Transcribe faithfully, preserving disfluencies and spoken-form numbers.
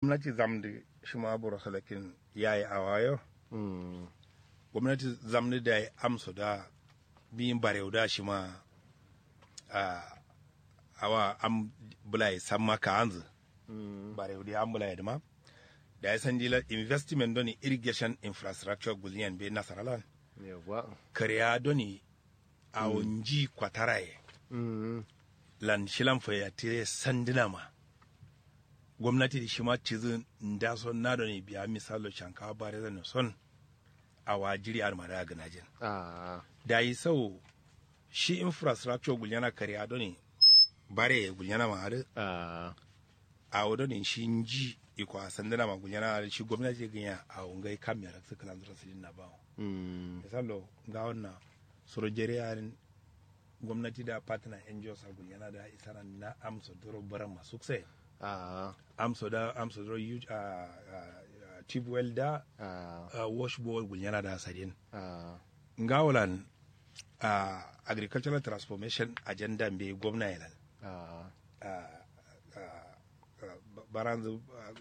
gomnati zamdu shima buro salakin yayi awayo. Gomnati zamdu dayi amso da biyin barewu da shima awa am bulaye samma ka anzu. Barewu da am bulaye duma dayi sandila investment doni irrigation infrastructure gulniyan be nasaralan. Kariya doni awo nji kwataraye lan shilan fayatire sanduna ma. Gomnati da shima cizu ndaso nadoni biya misallo shankawa bare zano son awa jiri aduma da gana jin. Dayi sau shi infrastructure gulyana kariya doni bare gulyana ma adu. Awo doni shi nji iko a sanduna ma gulyana adu shi gomnati ganya awo ngai kam yarak su kalan zura sidin na bawo. Misallo nga wannan suro jere yarin gomnati da partner ngos a gulyana da isana na amso doro baran ma sukse. Amso da amso doro yuj a tube well da wash bowl gulyana da sadin. Nga wulan agricultural transformation agenda mbe gomna yelan. Baranzu